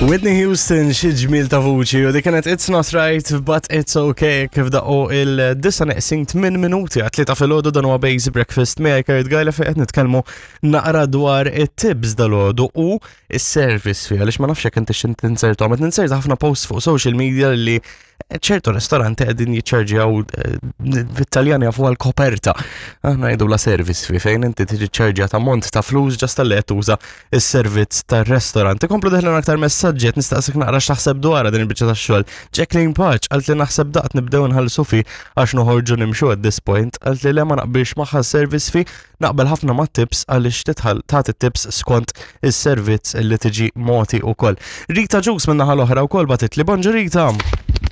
Whitney Houston xi ġmiel ta' vuċi u dik kienet It's Not Right But It's Okay kif daqqu il-disa neqsin 8 minuti għat tlieta filgħodu dan huwa Basic Breakfast miegħi Kurt Gajla fejn qed nitkellmu naqra dwar it-tips dalgħodu u is-service fee għaliex ma nafx jekk inti x'int tinsertu għamet ninserta ħafna posts fuq social media li ċertu ristoranti qegħdin jiċċarġjaw eh, bit-Taljan jafu għal koperta. Aħna jgħidu la service fee fejn inti tiġi ċarġja ta' mont ta' flus ġast tal qed tuża s-servizz tar-restorant. Ikomplu deħlin aktar messaġġi qed nistaqsik naqra x'taħseb dwarha din il-biċċa tax-xogħol. Jacqueline Paċ qalt li naħseb daqt nibdew nħallsu fi għax noħorġu nimxu at this point, qalt li le ma naqbilx magħha service fee Naqbel ħafna ma' tips għaliex titħall tagħti tips skont is-servizz li tiġi mogħti wkoll. Rita Ġus minn naħa l-oħra wkoll bagħtitli bonġu Rita.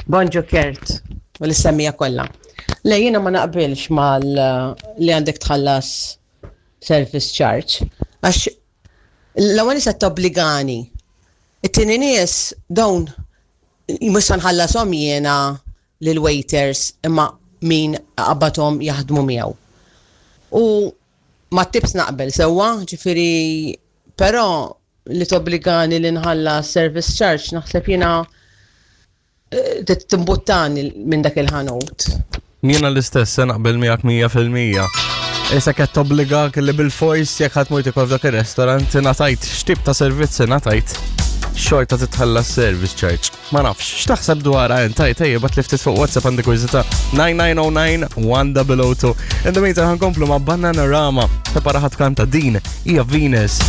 Bonġu Kurt u l-semmija kollha. Le jiena ma naqbilx mal li għandek tħallas service charge għax l-ewwel se tobbligani. It-tieni nies dawn mhux se nħallashom jiena lill-waiters imma min qabadhom jaħdmu miegħu. U mat-tips naqbel sewwa, ġifieri però li tobbligani li nħallas service charge naħseb jiena eh, timbuttani minn dak il-ħanut. Jiena l-istess se naqbel miegħek 100%. Issa qed tobbligak li bil-fors jekk ħadd mur tikol f'dak ir-restaurant ingħatajt x'tip ta' servizz ingħatajt xorta titħallas service charge. Ma nafx, x'taħseb dwarha int? Tajt, ejja, bat li ftit fuq WhatsApp għandi kurżità 9909 1002. In the meantime ħankomplu ma' Bananarama. Prepara ħadd kanta din hija Venus.